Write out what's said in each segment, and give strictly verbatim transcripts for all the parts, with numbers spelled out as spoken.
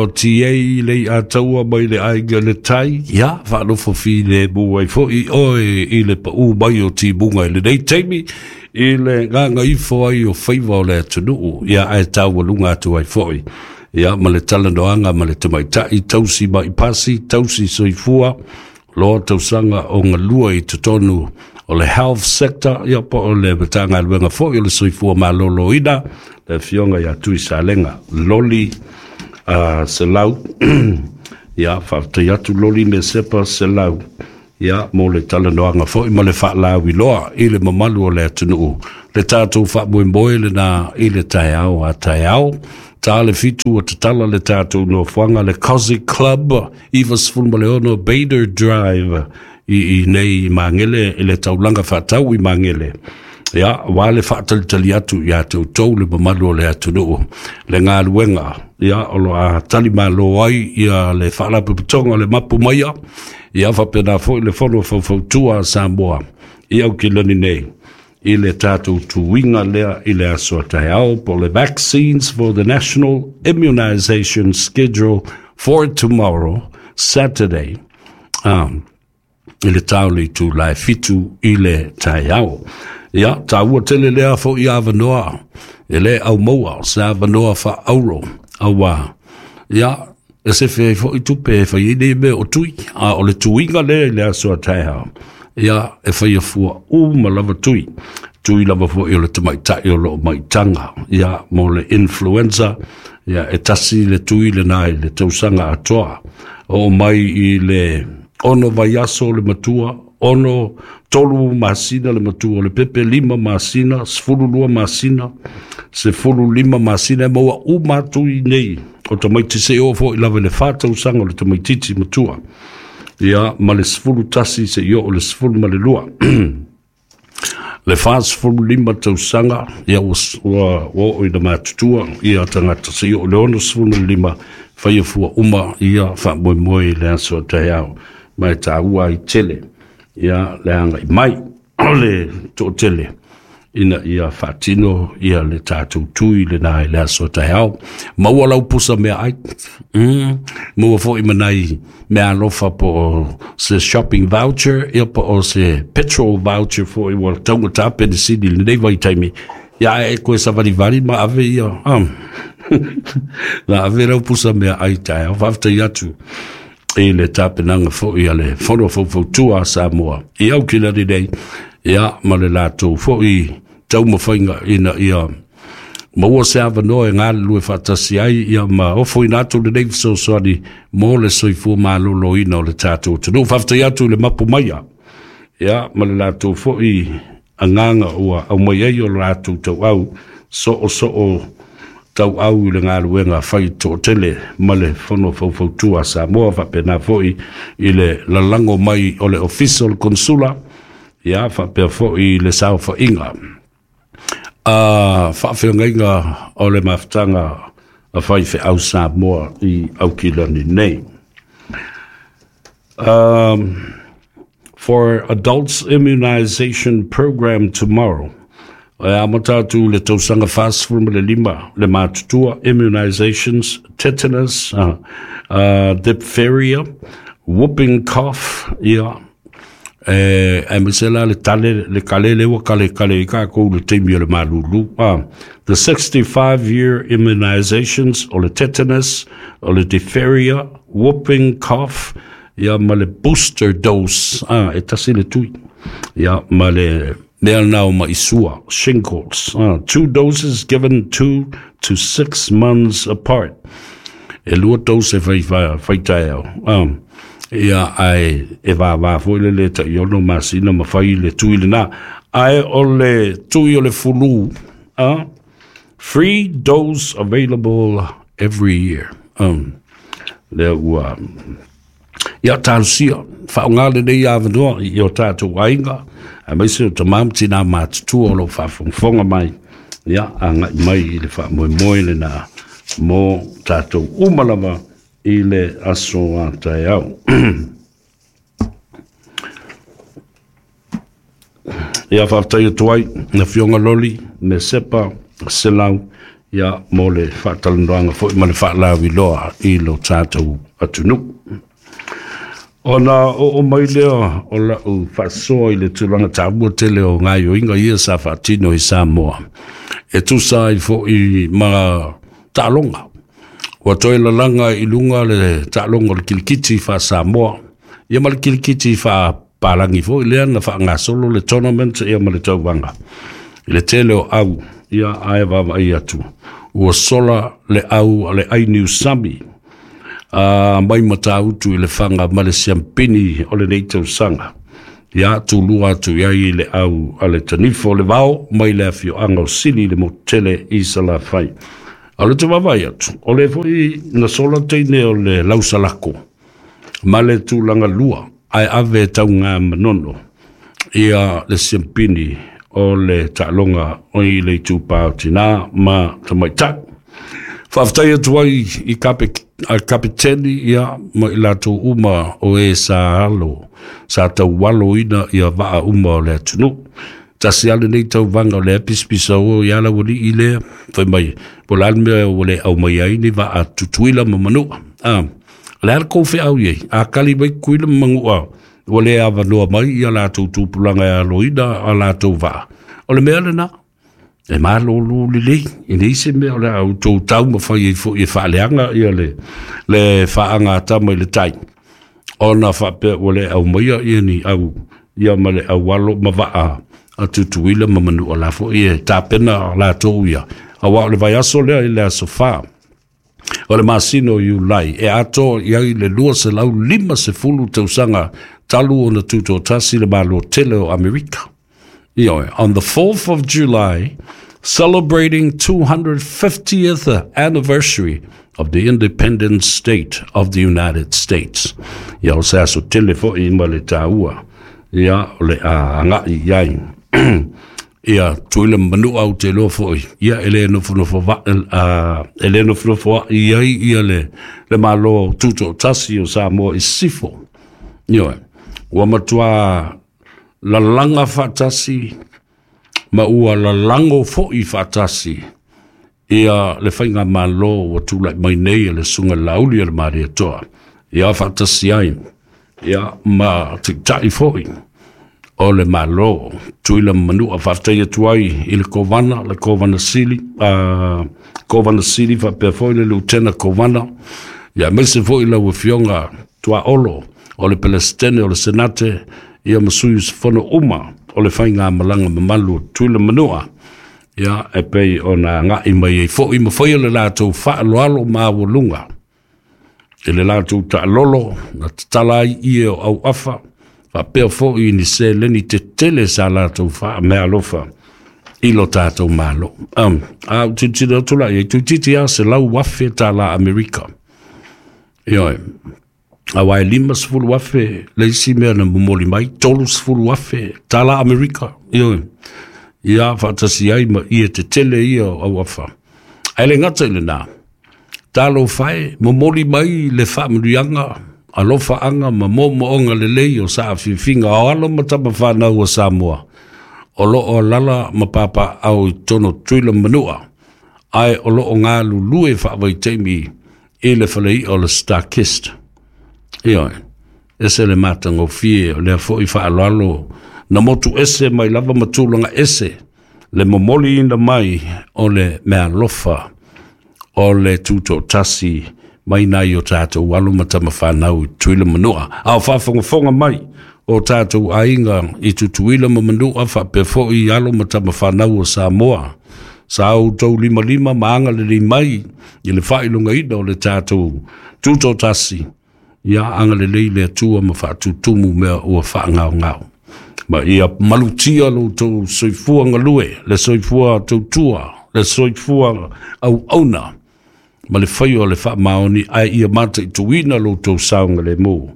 O T A le a taua mai le aiga le tai, ia, whaanofo fi le muai foi oe i le pa u mai o timunga i le nei taimi, i le nganga ifo ai o faiva o le atunuu, ia ae taua lunga atu ai foi. Ia, ma le talanoanga ma le tamaitai, tausi mai pasi, tausi soifua, loa tausanga o ngalua i totonu o le health sector, ia po o le matagaluega foi o le soifua maloloina, le afioga ia Tui Salega, Loli uh, Selau, ia, faafetai atu Loli me sepa Selau, ia, mo le talanoanga foi ma le faalauiloa i le mamalu o le atunuu, le tatou faamoemoe lena i le taeao a taeao. Ta le fitu o tatala le tatou nofoaga le Cosy Club, iva sefulu ma le ono Bader Drive, i, i nei Magele, i le taulaga faatau i Magele. Ia, wa le faatalitali atu ia toutou le mamalu o le atunuu, le galuega, ia, o lo a talimalo ai ia le faalapotopotoga o le mapu maia, ia faapena foi le fono faufautua a Samoa i Aukilani nei, i le tatou tuiga lea i le aso a taeao, po le vaccines for the National Immunization Schedule for tomorrow, Saturday, um, i le tau le itula e fitu i le taeao. Ia, taua tele lea foi avanoa, e le au maua, se avanoa faauro, auā, ia, e sefe ai foi tupe e fai ai nei mea o tui, a o le tuiga lea i le aso a taeao, ia, e faia fua uma lava tui, tui lava foi o le tamaitai o loo maitaga, ia, mo le influenza, ia, e tasi le tui lenā i le tausaga atoa, oo mai i le ono vaiaso le matua, ono tolu masina le matua o le pepe, lima masina, sefulu lua masina, sefulu lima masina, e maua uma atu i nei o tamaiti se oo foi lava i le fa tausaga o le tamaitiiti matua, ia, ma le sefulu tasi se i oo le sefulu ma le lua. Le fa sefulu lima tausaga, ia, ua ua oo ina matutua ia tagata se i oo le ono sefulu ma le lima, faia fua uma ia faamoemoe i le aso a taeao, ma e taua ai tele ia le agai mai o le toatele ina ia faatino ia le tatou tui lenā i le aso a taeao. Maua lau pusa meaai, mm, maua foi ma nai mea alofa po o se shopping voucher, ia po o se petrol voucher foi ua taugata penisini i lenei vaitaimi, ia ae e koe savalivali ma ave ia, um, na ave lau pusa meaai taeao. Faafetai atu i le tapenaga foi a le Fono Faufautua a Samoa i Aukilani nei, ia, ma le latou foi taumafaiga ina ia maua se avanoa e galulue faatasi ai, ia ma ofoina atu lenei fesoasoani mo le soifua maloloina o le tatou atunuu. Faafetai atu i le mapu maia, ia, ma le latou foi agaga ua aumai ai o le latou tauau soosoo tauau i le galuega fai toatele ma le Fono Faufautua a Samoa, faapena foi i le lalago mai o le Ofisa o le Konsula, ia, faapea foi i le saofaiga a faafeagaiga o le mafutaga a faifeau Samoa i Aukilani nei. Um, for adults immunization program tomorrow, e amata atu le tausaga fasefulu ma le lima le matutua, immunizations, tetanus, uh, uh, diphtheria, whooping cough, ia, e aemaise la le tale le kalele ua kalekale i kākou le taimi o le malūlū. Ah, the sixty-five year immunizations o le tetanus, o le diphtheria, whooping cough, ia, ma le booster dose, ah, e tasi le tui, ia, ma le mea na o maʻi sua, shingles, ah, two doses given two to six months apart, e lua dose fai fai taeao, ah, ia, ae e vavā foi le le tai ono masina ma fai le tui lenā, ae o le tui o le flu, ah, free dose available every year, um, lea ua ia talosia faaaogā lenei avanoa i o tatou aiga aemaise o tamā ma tinā matutua o loo faafogafoga mai, ia agai mai i le faamoemoe lenā mo tatou uma lava i le aso a taeao. Ia, faafetai atu ai na afioga Loli me Sepa Selau, Ia mo le faatalanoaga foi ma le faalauiloa i lo tatou atunuu. Ona oo mai lea o lau faasoa i le tulaga taua tele o gaoioiga ia sa faatino i Samoa e tusa ai foi ma taaloga. Ua toe lalaga i luga le taaloga o le kilikiti faa-Samoa, ia ma le kilikiti faapalagi foi lea na faagasolo le tournament ia ma le tauvaga. I le tele o au, ia ae vaavaai atu, ua sola le au a le Ainiusami a mai Matautu i le faga ma le siampini o lenei tausaga. Ia tulua atu i ai le au a le Tanifo le Vao mai le afioaga o Sili le motele i Salafai. A o le te vaavaai atu, o le foi na sola teine o le lausalako ma le tulaga lua ae ave tauga manono ia le siampini o le taaloga o i le itupa o tinā ma tamaitai. Faafetai atu ai i kape, a kapiteni ia ma i latou uma o e sa alo, sa taualoina ia vaa uma o le atunuu. Tasi lava lenei tauvaga o lea pisapisa o ia laualii lea, fai mai, po o le a le mea ua le aumai ai ni vaa Tutuila ma Manua. Ah, o le a le kou feau i ai, a kali mai Tutuila ma Manua, ua le avanoa mai ia latou tupulaga e aloina a latou vaa. O le mea lena, e malōlō lelei, e leai se mea o le a outou taumafai ai foi e faaleaga ia le, le faagatama i le tai, ona faapea ua le aumaia ia ni au ia ma le aualo ma vaa a Tutuila ma Manua la foi e tapena latou ia. Aua o le vaiaso lea i le aso fa o le masina o Iulai e atoa i ai le lua selau lima sefulu tausaga talu ona tutoatasi le Malo tele o Amerika. Ioe, on the fourth of July, celebrating two hundred fiftieth anniversary of the independent state of the United States. Ia o se aso tele foi ma le taua, ia o le a agai i ai. Ia Tutuila ma Manua ou te iloa foi, ia e le nofonofo va, uh, e le nofonofo i ai ia le, le Malo tutoatasi o Samoa i sisifo. Ioe, ua matua lalaga faatasi ma ua lalago foi faatasi ia le faigamalo ua tulai mai nei e le susuga Laauli o le Malietoa. Ia faatasi ai ia ma taitai foi o le Malo Tutuila ma Manua. Faafetai atu ai i le Kovana, le Kovana Sili, uh, Kovana Sili faapea foi le Lutena Kovana, ia aemaise foi lau Afioga Tuaolo o le Pelesitene o le Senate, ia ma sui usufono uma o le faigamalaga mamalu o Tutuila ma Manua, ia e pei ona agai mai ai foi ma faia le latou faaaloalo maualuga i le latou taalolo na tatala ai ie o auafa, faapea foi ni seleni tetele sa latou faameaalofa i lo tatou Malo. Um, a ou tilotilo atu la i ai, toeitiiti lava selau afe tālā Amerika. Ioe, aua e lima sefulu afe le isi mea na momoli mai, tolu sefulu afe tālā Amerika. Ioe, ia faatasi ai ma ie tetele ia o auafa. Ae le gata i lenā, talofa e, momoli mai le faamanuiaga, alofaaga ma moomooga lelei o saafiafiga o alo ma tamafanau o Samoa, o loo alaala ma papaau i totonu o Tutuila ma Manua, ae o loo galulue faavaitaimi i le faleia o le Starkist. Ioe, ese le matagofie o lea foi faaaloalo na motu ese mai lava ma tulaga ese le momoliina mai o le meaalofa o le tutoatasi mai nai o tatou alo ma tamafanau i Tutuila ma Manua. A o faafogafoga mai o tatou aiga i Tutuila ma Manua faapea foi alo ma tamafanau o Samoa, sa outou limalima ma agalelei mai i le faailogaina o le tatou tutoatasi, ia agalelei le Atua ma faatutumu mea ua faagaogao. Ma ia malutia lo outou soifua galue, le soifua tautua, le soifua auauna, ma le faia o le faamaoni, ae ia mataituina lo outou saogalemu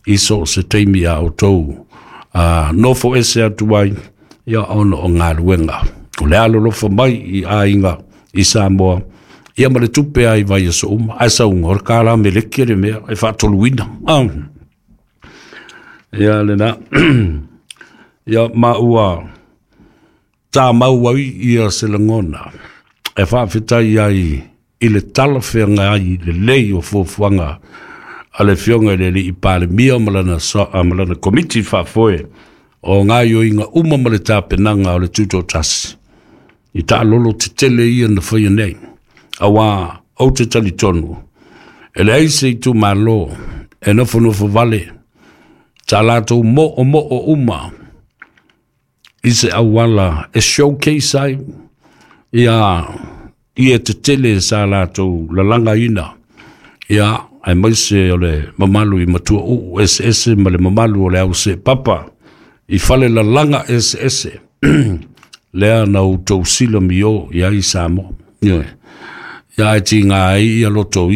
i so o se taimi a outou uh, nofo ese atu ai, ia ona o galuega. O le alolofa mai i aiga i Samoa, ia ma le tupe ai vaiaso uma, ae sauga o le kālā meleki le mea e faatoluina. Ah. Ia lena. Ia ma ua tāmau ai ia se lagona E faafetai ai i le talafeagai lelei o fuafuaga a le Afioga i le Alii Palemia ma lana, ma lana komiti faafoe o gaoioiga uma ma le tapenaga o le Tutoatasi i taalolo tetele ia na faia nei. Auā ou te talitonu, e leai se itumalo e nofonofo vale, sa latou moomoo uma i se auala e showcase ai ia ie tetele sa latou lalagaina, ia aemaise o le mamalu i matuauu eseese ma le mamalu o le au seepapa i fale lalaga eseese lea na outou silamio i ai Samoa. Ioe. Ia ae tiga ai ia loto